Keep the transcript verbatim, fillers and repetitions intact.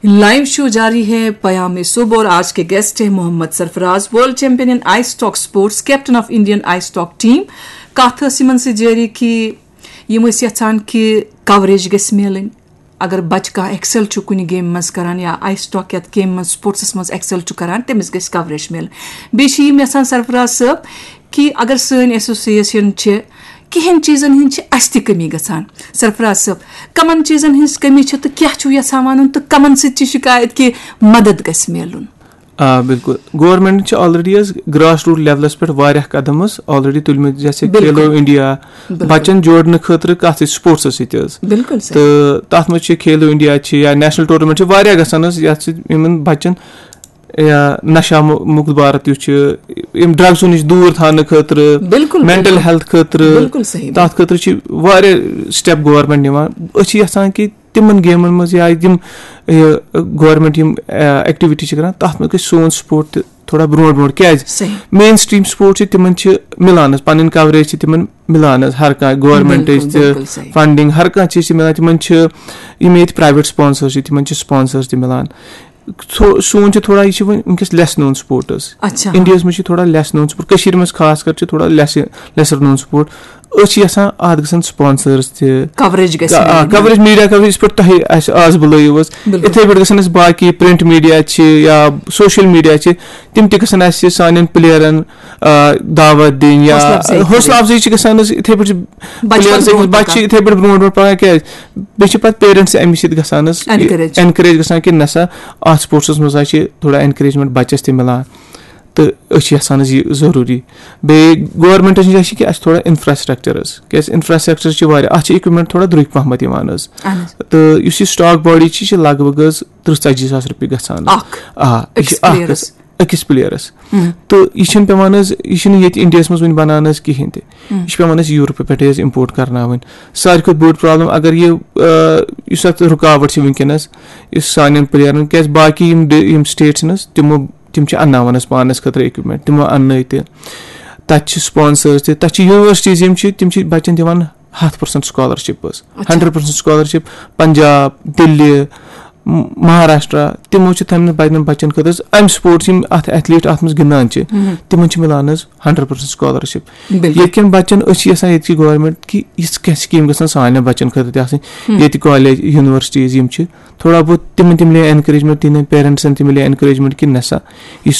Live show جاری ہے پیام صبح اور آج کے گیسٹ ہیں Mohammad Sarfaraz, world champion in ice stock sports, captain of Indian ice stock team. کتھ ٲس یِمن سۭتۍ جٲری کہِ یِم ٲسۍ یژھان کہِ کوریج گژھِ میلٕنۍ۔ اگر بچہِ کانٛہہ ایکسل چھُ کُنہِ گیمہِ منٛز کران یا آئی اسٹاک یتھ گیمہِ منٛز، سپورٹسس منٛز ایکسل چھُ کران، تٔمِس گژھِ کوریج میلٕنۍ۔ بیٚیہِ چھِ یِم یژھان سرفراز صٲب کہِ اگر سٲنۍ ایسوسیشن چھِ، کِہِنۍ چیٖزن ہٕنٛز چھِ اَسہِ تہِ کٔمی گژھان۔ سرفراز صٲب، کَمَن چیٖزن ہٕنٛز کٔمی چھِ تہٕ کیٛاہ چھُو یَژھان وَنُن تہٕ کَمَن سۭتۍ چھِ شِکایت کہِ مدد گژھِ میلُن؟ آ، بِلکُل۔ گورنمنٹن چھِ آلریڈی حظ گراس روٹ لیولس پٮ۪ٹھ واریاہ قدم حظ آلریڈی تُلمٕتۍ، جیسے بِلکُل۔ کھیلو انڈیا، بِلکُل۔ بچن جوڑنہٕ خٲطرٕ کتھ سۭتۍ؟ سپورٹسس سۭتۍ حظ۔ بِلکُل صحیح۔ تہٕ تتھ منٛز چھِ کھیلو انڈیا چھِ یا نیشنل ٹورنامنٹ چھِ واریاہ گژھان حظ، یتھ سۭتۍ یِمن بچن یا نشہ مُ-، مُکت بھارت یُس چھُ، یِم ڈرگسو نِش دوٗر تھاونہٕ خٲطرٕ، بِلکُل، مینٹل بِلکُل۔ ہیلتھ خٲطرٕ، بِلکُل صحیح۔ تتھ خٲطرٕ چھِ واریاہ سٹیپ گورنمنٹ نِوان۔ أسۍ چھِ یژھان کہِ تِمن گیمن منٛز یا یِم، یہِ، گورنمنٹ یِم، آ، ایکٹیویٹی چھِ کران، تتھ منٛز گژھِ سون سپورٹ تہِ تھوڑا برونٛٹھ برونٛٹھ۔ کیازِ؟ صحیح۔ مین سٹریم سپورٹ چھِ تِمن چھِ مِلان حظ، پنٕنۍ کوریج چھِ تِمن مِلان حظ، ہر کانٛہہ گورنمنٹٕچ بِلکُل، تہِ بِلکُل صحیح۔ فنڈنگ، ہر کانٛہہ چیٖز چھِ مِلان۔ تِمن چھِ یِم ییٚتہِ پرایویٹ سپانسر چھِ، تِمن چھِ سپانسر تہِ مِلان۔ سو-، سون چھُ تھوڑا، یہِ چھِ وۄنۍ وٕنکیٚس لیس نون سپورٹس۔ اچھا۔ انڈیاہس منٛز چھِ تھوڑا لیس نون سپورٹ، کٔشیٖرِ منٛز خاص کر چھِ تھوڑا لیس، لیسر نون سپورٹ۔ أسۍ چھِ یژھان اتھ گژھن سپانسرس تہِ، کوریج گژھِ آ، میلٕنۍ۔ کوریج، میڈیا کوریج، یِتھ پٲٹھۍ تۄہہِ اَسہِ آز بُلٲیِو حظ، بِلکُل۔ یِتھے پٲٹھۍ گژھن اَسہِ باقٕے پرنٹ میڈیا چھِ یا سوشل میڈیا چھِ، تِم تہِ گژھن اَسہِ سانٮ۪ن پلیرن، آ، دعوت دِنۍ یا حوصلہٕ افزٲیی کَرٕنۍ۔ حوصلہٕ افزٲیی چھِ گژھان حظ یِتھے پٲٹھۍ چھِ بچپن پلیرس برونٛٹھ بچہِ چھِ پکان۔ یِتھے پٲٹھۍ برونٛٹھ برونٛٹھ پکان۔ کیازِ؟ بیٚیہِ چھِ پتہٕ پیرنٹس امہِ سۭتۍ گژھان حظ encourage۔ Encourage گژھان کہِ نسا اتھ سپورٹسس منٛز حظ چھِ تھوڑا encouragement بچس تہِ مِلان۔ تہٕ أسۍ چھِ یژھان حظ یہِ ضروٗری۔ بیٚیہِ گورنمنٹس نِش آسہِ کہِ اَسہِ تھوڑا انفراسٹرکچر حظ، کیازِ انفراسٹرکچر چھِ واریاہ، اَتھ چھِ equipment تھوڑا درٛوٚگۍ پہمتھ یِوان حظ۔ اہن حظ۔ تہٕ یُس یہِ سٹاک باڈی چھِ، یہِ چھِ لگ بگ حظ تٕرٛہ ژتجی ساس رۄپیہِ گژھان حظ۔ اکھ؟ آ، یہِ چھِ أکِس اکھ پلیرس؟ حظ، أکِس پلیرس۔ ہم۔ تہٕ یہِ چھِنہٕ پٮ۪وان حظ، یہِ چھِنہٕ ییٚتہِ انڈیاہس منٛز وُنہِ بنان حظ کِہینۍ تہِ۔ ہم۔ یہِ چھِ پٮ۪وان اَسہِ یوٗروپہٕ پٮ۪ٹھے حظ import کرناوٕنۍ۔ ساروی کھۄتہٕ بٔڑ پرابلم اگر یہِ، آ، یُس اتھ رُکاوٹ چھِ وٕنکیٚنس، یُس سانٮ۪ن پلیرن، کیازِ باقٕے یِم ڈ-، یِم سٹیٹ چھِنہٕ حظ، تِمو تِم چھِ انناوان أسۍ پانس خٲطرٕ equipment، تِمو اننٲے تہِ۔ تتہِ چھِ sponsors تہِ، تتہِ چھِ universities یِم چھِ، تِم چھِ بچن دِوان ہتھ percent scholarship حظ، اچھا۔ Hundred percent scholarship۔ پنجاب، دِلہِ، م-، مہاراشٹرا، تِمو چھِ تِمن بچن، بچن خٲطرٕ حظ امہِ سپورٹس یِم اتھ athlete اتھ منٛز گِنٛدان چھِ، مہم۔ تِمن چھِ مِلان حظ hundred percent scholarship۔ بِلکُل۔ ییٚتہِ کٮ۪ن بچن، أسۍ چھِ یژھان ییٚتہِ کہِ گورنمنٹ کہِ یِژھ کینٛہہ سکیٖم گژھن سانٮ۪ن بچن خٲطرٕ تہِ آسٕنۍ۔ ہم۔ ییٚتہِ کالج، universities یِم چھِ، تھوڑا بہت تِمن تہِ مِلے encouragement، تِہنٛدٮ۪ن پیرنٹسن تہِ مِلے encouragement کہِ نسا یہِ